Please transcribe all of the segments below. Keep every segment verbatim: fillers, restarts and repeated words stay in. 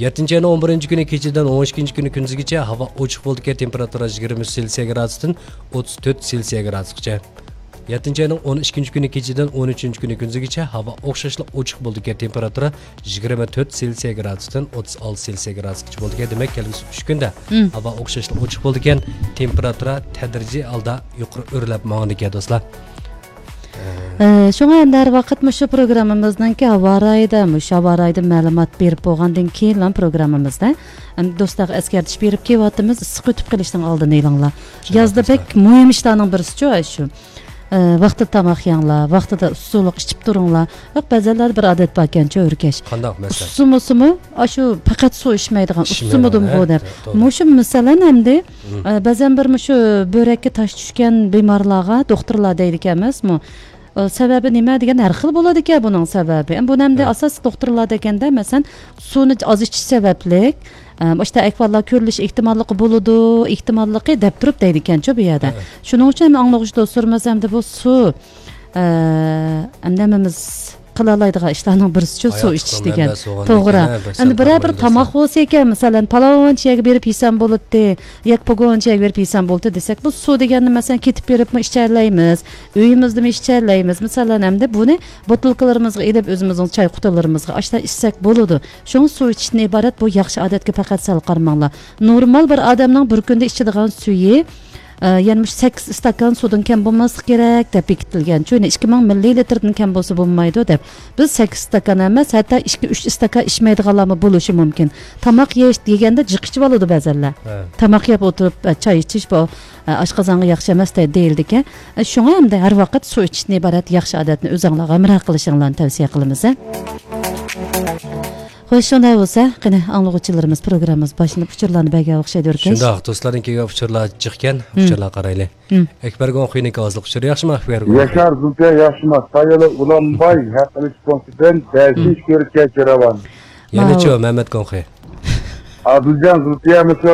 يەتتىنچى ئاينىڭ ئون بىرىنچى كۈنى كېچىدىن ئون ئىككىنچى كۈنى كۈندۈزگىچە ھاۋا ئوچۇق بولىدىكەن، تېمپېراتۇرا يىگىرمە ئۈچ سېلسىيە گرادۇستىن ئوتتۇز تۆت سېلسىيە گرادۇسقىچە. يەتتىنچى ئاينىڭ ئون ئىككىنچى كۈنى كېچىدىن ئون ئۈچىنچى كۈنى كۈندۈزگىچە ھاۋا ئوخشاشلا ئوچۇق بولىدىكەن، تېمپېراتۇرا يىگىرمە تۆت سېلسىيە گرادۇستىن ئوتتۇز ئالتە سېلسىيە گرادۇسقىچە بولىدىكەن. دېمەك، كەلگۈسى ئۈچ كۈندە مم. ھاۋا ئوخشاشلا ئوچۇق بولىدىكەن، تېمپېراتۇرا تەدرىجىي ھالدا يۇقىرى ئۆرلەپ ماڭىدىكەن، دوستلار. ئە، شۇڭا ئەمدى ھەر ۋاقىت مۇشۇ پروگراممىمىزنىڭكى ھاۋا رايىدا، مۇشۇ ھاۋا رايىدا مەلۇمات بېرىپ بولغاندىن كېيىنلا پروگراممىمىزدا، ئەمدى دوستلارغا ئەسكەرتىش بېرىپ كېلىۋاتىمىز، ئىسسىق ئۆتۈپ قېلىشنىڭ ئالدىنى ئېلىڭلار. شۇنداق يازدا دوستلار. بەك مۇھىم ئىشلارنىڭ بىرسىچۇ شۇ. ئە، ۋاقتىدا تاماق يەڭلار، ۋاقتىدا ئۇسسۇلۇق ئىچىپ تۇرۇڭلار. ياق، بەزەنلەردە بىر ئادەت باركەنچۇ، ئۆركەش. قانداق مەسىلەن؟ ئۇسسۇمۇسىمۇ، ئاشۇ پەقەت سۇ ئىچمەيدىغان، ئىچمەيدىغان، ئۇسسۇمىدىمۇ ھە، دەپ. توغرا. مۇشۇ مەسىلەن ئەمدى، مم. ئە، بەزەن بىر مۇشۇ بۆرەككە تاش چۈشكەن بىمارلارغا دوختۇرلار دەيدىكەن ئەمەسمۇ؟ ئە، سەۋەبى نېمە دېگەن، ھەر خىل بولىدىكەن بۇنىڭ سەۋەبى. ئەمدى بۇنى ئەمدى ھە. ئاساسلىق دوختۇرلار دېگەندە، مەسىلەن، سۇنى ئاز ئىچىش سەۋەبلىك، ئە، مۇشۇنداق ئەھۋاللار كۆرۈلۈش ئېھتىماللىقى بولىدۇ، ئېھتىماللىقى دەپ تۇرۇپ دەيدىكەنچۇ بۇ يەردە. ھە. شۇنىڭ ئۈچۈن ئاڭلىغۇچى دوستلىرىمىز ئەمدى بۇ سۇ، ئە، ئەمدى ھەممىمىز قىلالايدىغان ئىشلارنىڭ بىرسىچۇ سۇ ئىچىش دېگەن. توغرا. ئەمدى بىرەر بىر تاماق بولسا ئىكەن، مەسىلەن، پالاۋانچى يەرگە بېرىپ يېسەم بولاتتى، ياكى پوگونچى يەرگە بېرىپ يېسەم بولاتتى دېسەك، بۇ سۇ دېگەننى، مەسىلەن، كېتىپ بېرىپمۇ ئىچەلەيمىز، ئۆيىمىزدىمۇ ئىچەلەيمىز. مەسىلەن، ئەمدى بۇنى بوتۇلكىلىرىمىزغا ئېلىپ، ئۆزىمىزنىڭ چاي قۇتىلىرىمىزغا ئاشۇنداق ئىچسەك بولىدۇ. شۇڭا سۇ ئىچىشتىن ئىبارەت بۇ ياخشى ئادەتكە پەقەت سەل قارىماڭلار. نورمال بىر ئادەمنىڭ بىر كۈندە ئىچىدىغان سۈيى، ئە، يەنە مۇشۇ سەككىز ئىستاكان سۇدىن كەم بولماسلىقى كېرەك دەپ بېكىتىلگەن. چۈنكى ئىككى مىڭ مىللىلىتىردىن كەم بولسا بولمايدۇ دەپ. بىز سەككىز ئىستاكان ئەمەس، ھەتتا ئىككى، ئۈچ ئىستاكان ئىچمەيدىغانلارمۇ بولۇشى مۇمكىن. تاماق يەش دېگەندە جىق ئىچىۋالىدۇ بەزەنلەر. ھە. تاماق يەپ ئولتۇرۇپ، ئە، چاي ئىچىش بۇ، ئە، ئاشقازانغا ياخشى ئەمەس دەي-، دېيىلىدىكەن. ئە، شۇڭا ئەمدى ھەر ۋاقىت سۇ ئىچىشتىن ئىبارەت ياخشى ئادەتنى ئۆزۈڭلار ھەمراھ قىلىشىڭلارنى تەۋسىيە قىلىمىز، ھە. خوش، شۇنداق بولسا، قېنى، ئاڭلىغۇچىلىرىمىز پروگراممىمىز باشلىنىپ ئۇچۇرلارنى بەرگەن ئوخشايدۇ، ئۆركەش. شۇنداق، دوستلاردىن كەلگەن ئۇچۇرلار جىقكەن، مم. ئۇچۇرلارغا قارايلى. مم. ئەكبەر گوڭخېنىڭ ئاۋازلىق ئۇچۇرى ياخشىمۇ، ئەكبەر گوڭخې؟ ياشار زۇلپىيە ياخشىما، سايىلى ئۇلانباي، ھەق ئېلىش پونكىتىدىن بەشىنچى كۆرۈككە كىرىۋال. يەنىچۇ، مەمەت گوڭخې؟ ئادىلجان زۇلپىيە مۇشۇ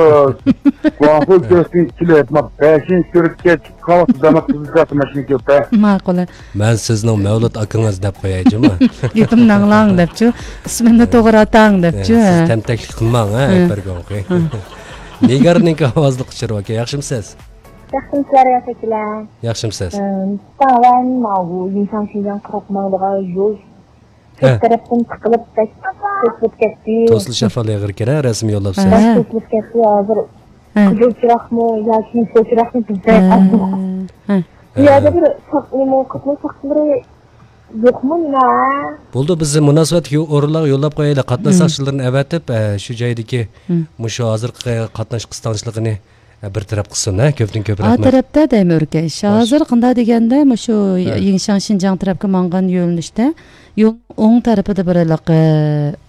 گۇاڭخۇ كۆرۈشتىن كېلىپ، ما، بەشىنچى كۆرۈككە چىققان ۋاقىتتا داماق قىزىلچاقتا ماشىنا كۆپ، ھە؟ ماقۇل. مەن سىزنىڭ مەۋلۇت ئاكىڭىز دەپ قوياي جۇمۇ. گېپىمنى ئاڭلاڭ دەپچۇ. ئىسمىمنى توغرا ئاتاڭ دەپچۇ، ھە، سىز ھە. تەمتەكلىك قىلماڭ، ھە، ھە. ئەكبەر گوڭخې. ھە. نىگارنىڭكى ئاۋازلىق ئۇچۇرى باركەن، ياخشىمۇسىز؟ ياخشىمۇسىلەر، ياخشى ئىكەنلەر. ياخشىمۇسىز؟ ئىم، تاۋان ماۋۇ يىڭشاڭ شىنجاڭ قىرىق ماڭىدىغان يول ھە. چەت تەرەپتىن تىقىلىپ، بەك توسۇلۇپ كەتتى. توسۇلۇش ئەھۋالى ئېغىر ئىكەن، ھە، رەسمىي يوللاپسىز. بەك ھە. توسۇلۇپ كەتتى ھازىر. ھە. قىزىل چىراغمۇ ياكى يېشىل چىراغمۇ بىزدە ھە. ئاز. ھە. بۇ يەردە بىر ساق-، نېمە، قاتناش ساقچىلىرى يوقمۇ نېمە؟ بولدى، بىز مۇناسىۋەتلىك يو-، ئورۇنلارغا يوللاپ قويايلى. قاتناش ھە. ساقچىلىرىنى ئەۋەتىپ، ئە، شۇ جايدىكى ھە. مۇشۇ ھازىرقى قاتناش قىستاڭچىلىقىنى بىر تەرەپ قىلسۇن، ھە، كۆپتىن كۆپ ئا رەھمەت. تەرەپتە دەيمەن، ئۆركەش. خوش. ھازىر قانداق دېگەندە، مۇشۇ ھە. يىڭشاڭ شىنجاڭ تەرەپكە ماڭغان يۆنىلىشتە يولنىڭ ئوڭ تەرىپىدە بىر ھېلىقى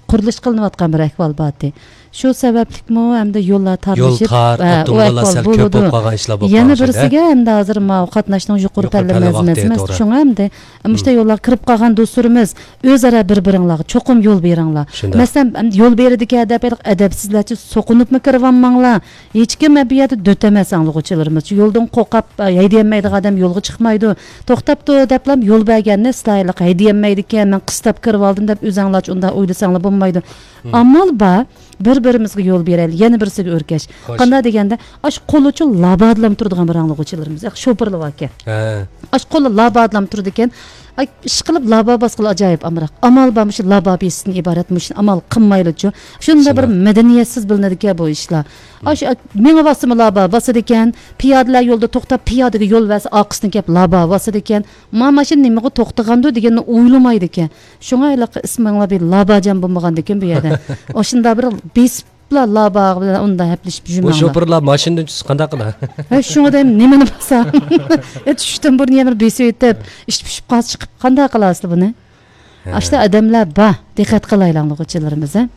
قۇرۇلۇش قىلىنىۋاتقان بىر ئەھۋال بارتى. شۇ سەۋەبلىكمۇ ھەمدە يوللار يول تارلىشىپ، تار، ھە، ئۇ ئاپتوموبىللار ئەھۋال سەل كۆپ بولىدۇ. بولۇپ قالغان ئىشلار بولۇپ يەنە قالغان ئىشلار. بىرسىگە ھەمدە ھازىر ماۋۇ قاتناشنىڭ يۇقىرى يۇقىرى پەللىمە پەللە ۋاقتى، مەزمىسى. توغرا. شۇڭا ھەمدە مۇشۇنداق ھىم. يوللارغا كىرىپ قالغان دوستلىرىمىز ئۆزئارا بىر-بىرىڭلارغا چوقۇم يول بېرىڭلار. شۇنداق. مەسىلەن، يول بېرىدىكەن دەپ ھېلىقى ئەدەپسىزلەرچە سوقۇنۇپمۇ كىرىۋالماڭلار. ھېچكىم بۇ يەردە دۆت ئەمەس، ئاڭلىغۇچىلىرىمىز. يولدىن قورقۇپ، ھەيدىيەلمەيدىغان ئادەم يولغا چىقمايدۇ. توختاپتۇ دەپلا يول بەرگەننى سىلەرلىك ھەيدىيەلمەيدىكەن، مەن قىستاپ كىرىۋالدىم دەپ ئۆزەڭلارچە ئۇنداق ئويلىساڭلار بولمايدۇ. ھىم. ئامال بار، بىر-بىرىمىزگە يول بېرەيلى. يەنە بىرسىگە ئۆركەش. خوش. قانداق دېگەندە، ئاشۇ قولىچۇ لابادىلام تۇرىدىغان بىر ئاڭلىغۇچىلىرىمىز، ياق، شوپۇرلار باركەن. ھە. ئاشۇ قولى لابادىلام تۇرىدىكەن. ئاي، ئىشقىلىپ لابا باسقىلى ئاجايىپ ئامراق. ئامال بار، مۇشۇ لابا بېسىشتىن ئىبارەت، مۇشۇنى ئامال قىلمايلىچۇ. شۇنداق بىر شۇنداق. مەدەنىيەتسىز بىلىنىدىكەن بۇ ئىشلار. مم. ئاشۇ، ئاي، مېڭىۋاتسىمۇ لابا باسىدىكەن، پىيادىلەر يولدا توختاپ، پىيادىگە يول بەرسە، ئارقىسىدىن كەپ لابا باسىدىكەن. ما ماشىنا نېمىغا توختىغاندۇ دېگەننى ئويلىمايدىكەن. شۇڭا ھېلىقى ئىسمىڭلار بىر لاباجان بولمىغاندىكىن بۇ يەردە. ئاشۇنداق بىر بېسىپ لا، لابا بىلەن ئۇنداق ھەپىلىشىپ بۇ يۈرمەڭلار. شوپۇرلار ماشىنىدىن چۈشسە قانداق قىلار؟ ھە، شۇڭا دەيمەن، نېمىنى باسا؟ ھە، چۈشۈشتىن بۇرۇن يەنە بىر بېسىۋېتىپ، ئىچىپ پۈشۈپ قالسا چىقىپ، قانداق قىلارسىلەر بۇنى؟ ھە. ئاشتا ئادەملەر بار، دىققەت قىلايلى ئاڭلىغۇچىلىرىمىز، ھە؟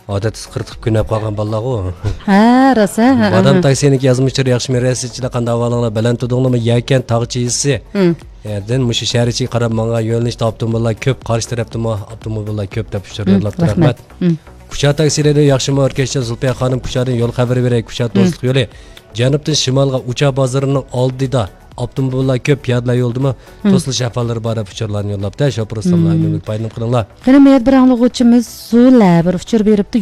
ئادەتتە قىرتىقىپ كۆنۈپ قالغان بالىلارغۇ. ھە، راست، ھە، ھە، بادام ھە. تاكسىنىڭكى يازمىشلىرى ياخشىمۇ، رەسىدچىلەر قانداق ئەھۋالىڭلار؟ بەلەنتىدۇڭلارمۇ؟ يەكەن تاغ چىشىسى. ھە. يەردىن مۇشۇ شەھەر ئىچىگە قاراپ ماڭغان يۆنىلىشتە ئاپتوموبىللار كۆپ، قارشى تەرەپتىمۇ ئاپتوموبىللار كۆپ دەپ ئۇچۇر ھە، يوللاپتۇ. رەھمەت. رەھمەت. ھە. كۇچا تاكسىلىرى ياخشىمۇ، ئۆركەشچان زۇلپىيە خانىم؟ كۇچادىن يول خەۋىرى بېرەي، كۇچا ھە. دوستلۇق يولى جەنۇبتىن شىمالغا ئۇچار بازىرىنىڭ ئالدىدا ئاپتوموبىللار كۆپ، پىيادىلەر يولدىمۇ ھە. توسۇلۇش ئەھۋاللىرى بار دەپ ئۇچۇرلارنى يوللاپتۇ. شوپۇر ئۇستاملار، ھە. ئۈنۈملۈك پايدىلىنىپ قېلىڭلار. قېنى، مۇ يەردە بىر ئاڭلىغۇچىمىز زۇلە بىر ئۇچۇر بېرىپتۇ.